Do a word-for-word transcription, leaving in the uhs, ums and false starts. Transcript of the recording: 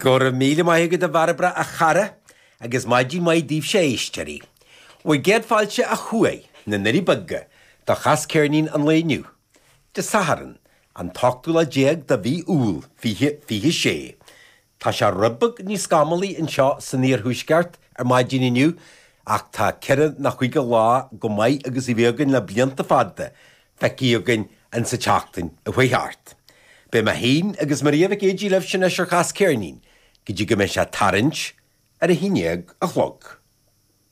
Go raibh míle maith agat a Bhairbre a chara, agus maidin mhaith daoibhse a éisteoirí. Bhur gcéad fáilte ó thuaidh, na nDoirí Beaga, do Chas Ceirnín an lae inniu, Dé Sathairn, an t-ochtú lá déag de mhí Iúil, fiche fiche sé. Tá sé rud beag níos scamallaí anseo san iarthuaisceart ar maidin inniu, ach tá ceithre nó cúig lá chomh maith agus a bhí againn le blianta fada feicthe againn insa tseachtain a chuaigh thart. Beidh mé féin agus Maria Mhic Éadaigh libhse anois ar Chas Ceirnín go dtí go mbeidh sé tarraingt ar a haon déag a chlog.